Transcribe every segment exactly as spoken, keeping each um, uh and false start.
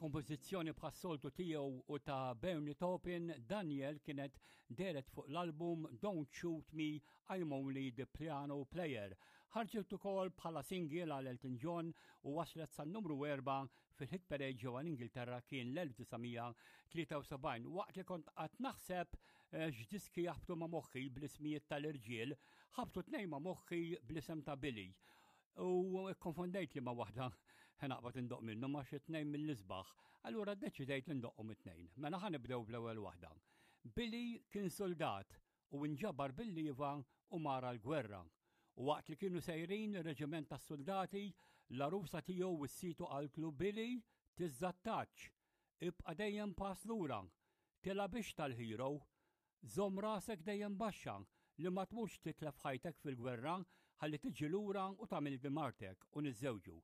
Kompożizzjoni bħas-soltu tiegħu u ta' Bernie Taupin, Daniel kienet dehret fuq l-album Don't Shoot Me, I'm Only the Piano Player. Ħarġet ukoll bħala single għal Elton John u waslet san numru erba' fil-hit parade ġewwa l-Ingilterra. Kien l-elf disa' mija tlieta u sebgħin. Waqt li kont qatt naħseb eh, x'diski jaħbtu ma' moħħi bl-ismijiet tal-irġiel, ħabtu tnejn ma' moħħi bl-isem ta' Billy. U konfondejt li ma waħda naqbad indoqq minnu ma xi tnejn mill-isbaħ. Allura ddeċidejt li ndoqqhom it-tnejn. Mela ħa nibdew bl-ewwel waħda. Billy kien soldat u nġabar bil-liva u mar għall-gwerra. U waqt li kienu sejrin ir-reġiment tas-soldati, l-arusa tiegħu wissietu, qaltlu: "Billy, tiżżattax, ibqa' dejjem pass lura, tilgħabx tal-hero, żomm rasek dejjem baxxa li ma tmux titlef ħajtek fil-gwerra ħalli tiġi lura u tagħmel martek u niżżewġu."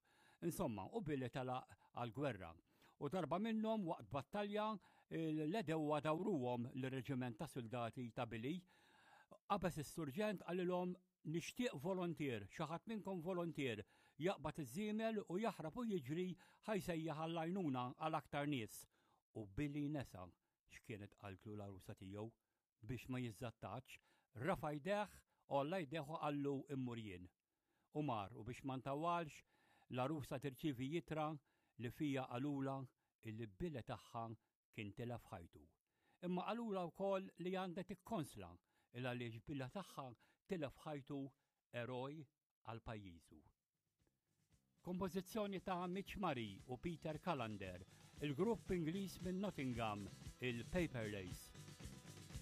Insomma, u Billy telaq għal-gwerra. U darba minnhom waqt battalja l-għedewwa dawruhom l-reġiment ta' soldati ta' Billy. Qabeż is-surġent, qalilhom: "Nixtieq volontier, xi ħadd minnkom volontier, jaqbad iż-żiemel u jaħrab u jiġri ħa jsejjaħ għall-għajnuna għal aktar nies." U Billy nesa x'kienet qaltlu l-arusa tiegħu biex ma jiżżattax, rafa' jdejh, għolla jdejh u qallu: "Immur jien." U mar, u biex ma ntawwalx, l-arusa tirċivi ittra li fiha qalulha illi Billy tagħha kien tilef ħajtu. Imma qalulha wkoll li għandha tikkonsla il għaliex Billy tagħha tilef ħajtu eroj għal pajjiżu. Kompożizzjoni ta' Mitch Murray u Peter Callander, il-grupp Ingliż minn Nottingham, il-Paper Lace.